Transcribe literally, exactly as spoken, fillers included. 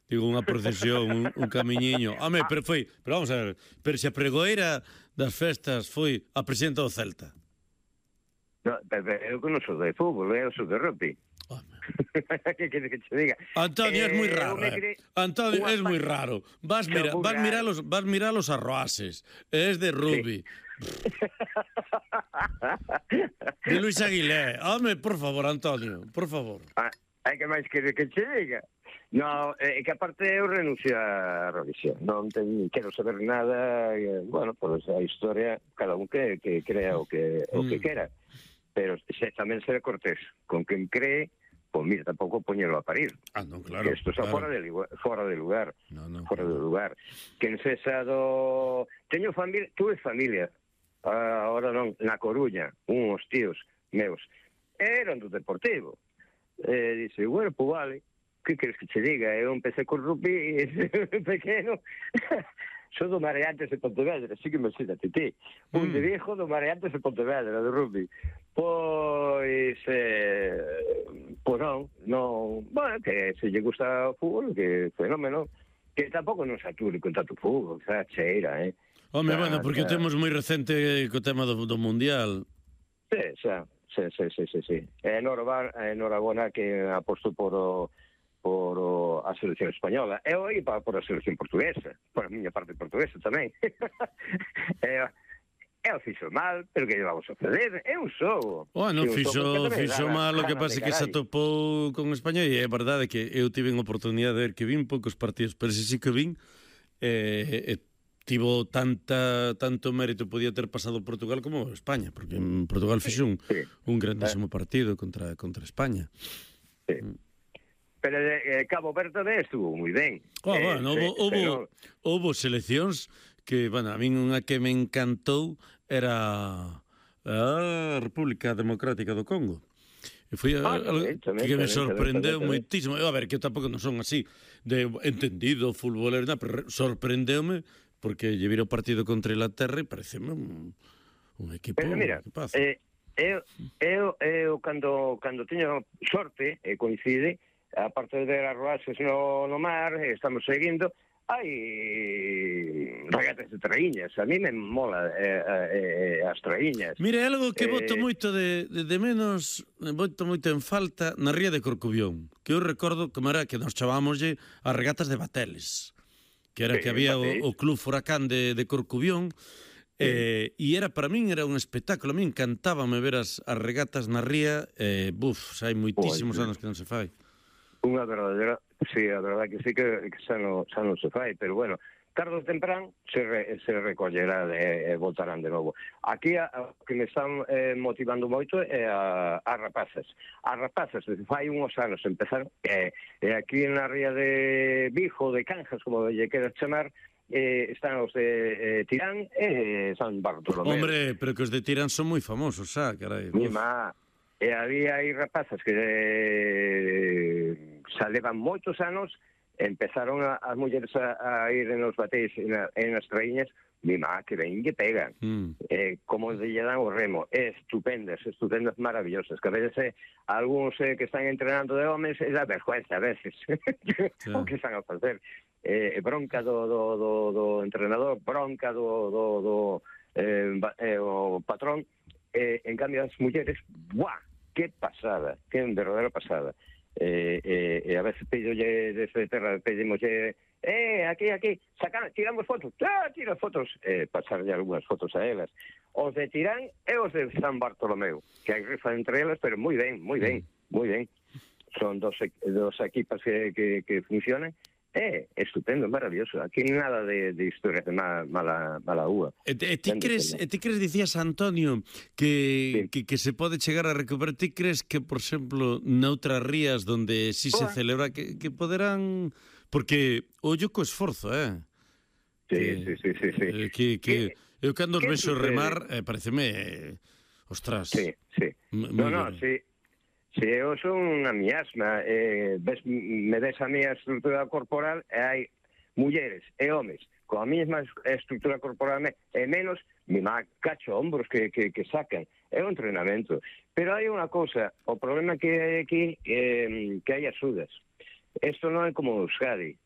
digo, unha procesión, un, un camiñiño. Home, pero foi, pero vamos a ver, pero se a pregoeira das festas foi a presidenta do Celta. No, pero eu que non sou de fútbol, eu sou de rugby. Que queres que te diga? Antonio, eh, es moi raro, eh. Cre... Antonio, es moi raro. Vas mira, vas mirar los, vas mirar los arroases. Es de rugby. Sí. De Luis Aguilé. Home, por favor, Antonio, por favor. Ah, hai que máis querer que te diga. No, é eh, que aparte eu renuncio a revisión. Non ten, quero saber nada, eh, bueno, pois a historia, cada un que, que crea o que, o que mm. quera. Pero se, tamén ser cortés con quen cree, pois mira, tampouco poñelo a parir. Ah, non, claro. Que isto está claro. fora de fora de lugar. No, no, fora claro. de lugar. Quen sexa do... Teño familia, tuve familia, uh, ahora non, na Coruña, uns tíos meus, eran do Deportivo. Eh, dice, bueno, pois vale, que queres que te diga? Eu empecé con rugby pequeno... Sou do Mareantes de Pontevedra, así que me imagínate ti. Un mm. de viejo do Mareantes de Pontevedra, do rugby. Pois, eh, pois non, non, bueno, que se lle gusta o fútbol, que fenómeno, que tampouco non sature con tanto fútbol, xa cheira, eh. Home, xa, bueno, porque xa... temos moi recente co tema do, do Mundial. Sí, xa, sí, sí, sí, sí, sí. Enhorabona que aposto por o por o, a selección española. Eu aí para por a selección portuguesa, por a miña parte portuguesa tamén. e, e o fixo mal, pero que lle vamos a fazer? É un xogo. Bueno, fixo, fixo mal, o que pasa é que se atopou con España, e é verdade que eu tive a oportunidade de ver que vin poucos partidos, pero se sí que vin, eh, eh, tivo tanta tanto mérito, podía ter pasado Portugal como España, porque en Portugal fixo un, sí. un grandísimo partido contra, contra España. Sí. Mm. Pero eh, Cabo Verde estuvo moi ben. Oh, eh, bueno, sí, houve, pero... houve seleccións que, bueno, a min unha que me encantou era a República Democrática do Congo. E foi ah, algo tamén, tamén, que me sorprendeu tamén, tamén, moitísimo. Eu, a ver, que eu tampouco non son así de entendido, futbolero, nada, pero sorprendeume porque lle vira o partido contra Inglaterra e pareceme un, un equipo... Pero mira, eh, eu, eu, eu cando, cando teño sorte, e coincide, aparte de ver as roaxes no, no mar, estamos seguindo, hai regatas de traíñas. A mí me mola eh, eh, as traíñas. Mire, algo que eh... boto moito de, de, de menos, boto moito en falta na ría de Corcubión, que eu recordo como era que nos chavámoslle as regatas de Bateles, que era sí, que había o, o Club Furacán de, de Corcubión, eh, e era para min era un espectáculo. A mí encantábame ver as, as regatas na ría, eh, buf, hai moitísimos anos que non se fai. Unha verdadera, sí, a verdade que sí que, que xa, non, xa non se fai, pero bueno, tarde ou temprán se, re, se recollerá e, e voltarán de novo. Aquí a, a que me están eh, motivando moito é a, a rapazas. As rapazas, fai uns anos empezaron, e eh, aquí na ría de Vigo, de Canjas, como lle queras chamar, eh, están os de eh, Tirán e San Bartolomé. Hombre, pero que os de Tirán son moi famosos, xa, carai. Mima, e había aí rapazas que eh, xa levan moitos anos, empezaron a, as mulleres a, a ir nos batéis e na, nas traíñas, mima, que ben que pegan, mm. eh, como lle dan o remo, estupendas, estupendas, maravillosas, que a veces eh, algúns eh, que están entrenando de homes, é da vergüenza a veces, sí. O que están a facer, eh, bronca do, do, do, do entrenador, bronca do, do, do eh, eh, o patrón, eh, en cambio as mulleres, ¡buah! Que pasada, que verdadera pasada. Eh, eh, e a veces pídolle desde terra, pedimoslle, eh, aquí, aquí, sacan, tiramos fotos, ah, tira fotos, eh, pasarlle algunhas fotos a elas. Os de Tirán e os de San Bartolomeu, que hai rifa entre elas, pero moi ben, moi ben, moi ben. Son dos, dos equipas que, que, que funcionan. É, eh, estupendo, maravilloso. Aquí nada de, de historias de mala, mala, mala uva. E, e ti crees, e ti crees, dicías, Antonio, que, sí. que, que se pode chegar a recuperar? Ti crees que, por exemplo, noutras rías donde si se celebra, que, que poderán... Porque ollo co esforzo, eh? Sí, que, sí, sí, sí, sí. Eh, que, que eu cando os vexo remar, eh, pareceme... Eh, ostras. Sí, sí. No, no, bien. Sí. Se eu son unha miasma, eh, ves, me ves a miña estrutura corporal e hai mulleres e homes con a mesma estrutura corporal e menos, mi má cacho hombros que, que, que sacan. É un entrenamento. Pero hai unha cousa, o problema que hai aquí é que hai axudas. Isto non é como Euskadi.